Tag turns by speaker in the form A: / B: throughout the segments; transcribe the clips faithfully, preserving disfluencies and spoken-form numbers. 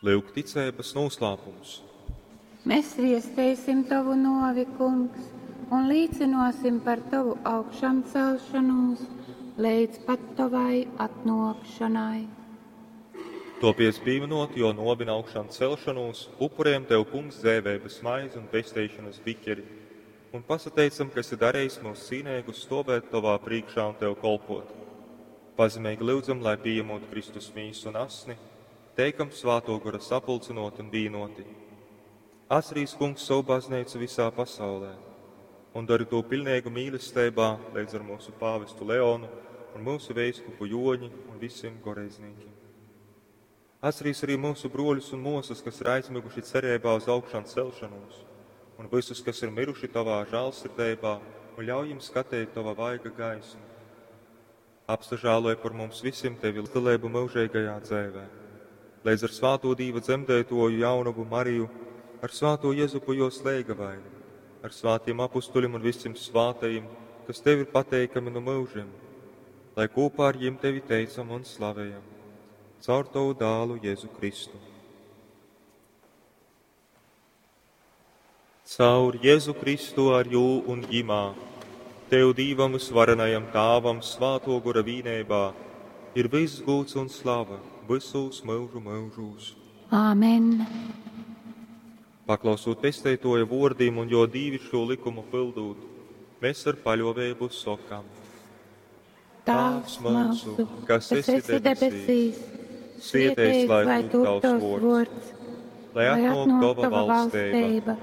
A: Lyuk ticeibas nūslāpums.
B: Mēs viesteisim tovu nōvi, Kungs, un līcynōsim par tovu augšamcelšonūs leidz pat tovai atnōkšonai.
A: Topiec pīminot jō nōvi un augšām celšanūs, upurējam Tev, Kungs, dzeiveibas maizi un pesteišanas biķeri, un pasateicam, ka esi darījis mūs cīneigus stovēt Tovā prīkšā un Tev kolpot. Pazemeigi lyudzam, lai pieņemot Kristus mīsu un asni, teikam Svāto Gora sapulcinot un vīnoti. Atcerīs, Kungs, savu baznīcu visā pasaulē un dari to pilnīgu mīlestībā līdz ar mūsu pāvestu Leonu un mūsu veiskupu Joņi un visiem goreizniekiem. Atcerīs arī mūsu broļus un mūsas, kas ir aizmiguši cerībā uz augšām celšanos, un visus, kas ir miruši tavā žēlsirdībā, un ļauj jums skatīt tava vaiga gaismu. Apsažāloj par mums visiem tevi līdzdalību mūžīgajā dzēvē. Līdz ar svāto Dīva dzemdētoju jaunavu Mariju, ar svāto Jezupu jo slēgavaini, ar svātiem apustuļiem un visiem svātajiem, kas tev ir pateikami no mūžiem, lai kopā ar jiem tevi teicam un slavējam. Caur tavu dālu Jēzu Kristu. Caur Jēzu Kristu ar jū un ģimā, Tev Dīvam visvarenajam Tāvam svāto gora vīnībā, ir viss gūts un slava visos mūžu mūžos.
B: Āmen.
A: Paklausot pesteitoja vōrdim un jo dīvišķo likumu pildūt, mēs ar paļovēbu sokam.
B: Tēvs mūsu, kas esi debesīs,
A: svētīts lai top tavs vārds, lai atnāk tava valstība,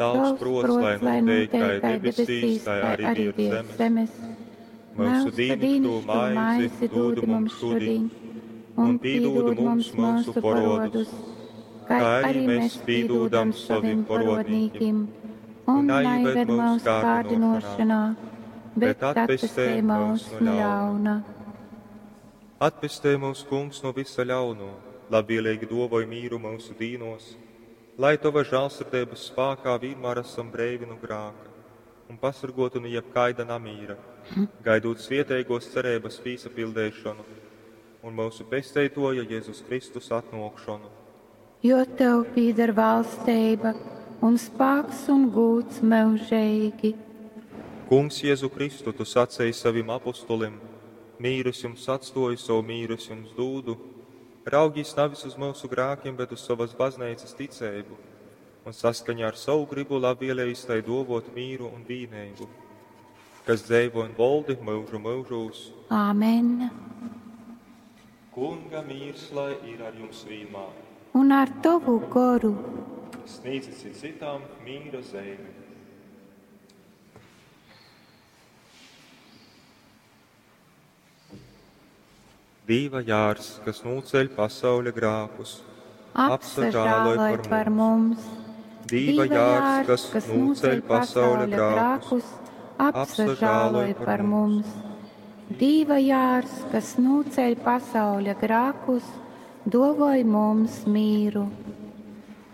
A: tavs prots, lai notiek kā debesīs, tā arī virs zemes. Mūsu dīnišķo maizi dod mums šodien, un pīdod mums mūsu porodus, kā arī mēs pīdodam saviem porodnīkim, un neieved mūsu kārdinošanā,
B: bet atpestē mūs no ļauna.
A: Atpestē mūs, Kungs, no visa ļauno, labvēlīgi dovoj mīru mūsu dīnos, lai tava žēlsirdības spākā vienmēr esam breivi no grāka un pasargoti no jebkaida namīra, gaidot svietēgos cerības pīsapildēšanu un mūsu pesteitoja Jēzus Kristus atnākšanu.
B: Jo tev pīder valstība un spāks un gūts mūžīgi.
A: Kungs Jēzu Kristu, tu sacēji savim apustulim, mīrus jums atstoju, savu mīrus jums dūdu, raugīs nevis uz mūsu grākiem, bet uz savas baznīcas ticēbu, un saskaņā ar savu gribu labvēlējis tai dovot mīru un vīnēbu, kas dzēvo un voldi mūžu mūžūs.
B: Āmen.
A: Kunga mīrs, lai ir ar jums vienmēr.
B: Un ar tavu goru.
A: Sniedzit citām mīra zeimi. Dīva jārs, kas nūceļ pasauļa grākus,
B: apsažāloj par, par mums.
A: Dīva jārs, kas, kas nūceļ pasauļa grākus,
B: apsažāloj par mums. Dīva jārs, kas nūceļ pasauļa grākus, dovoj mums mīru.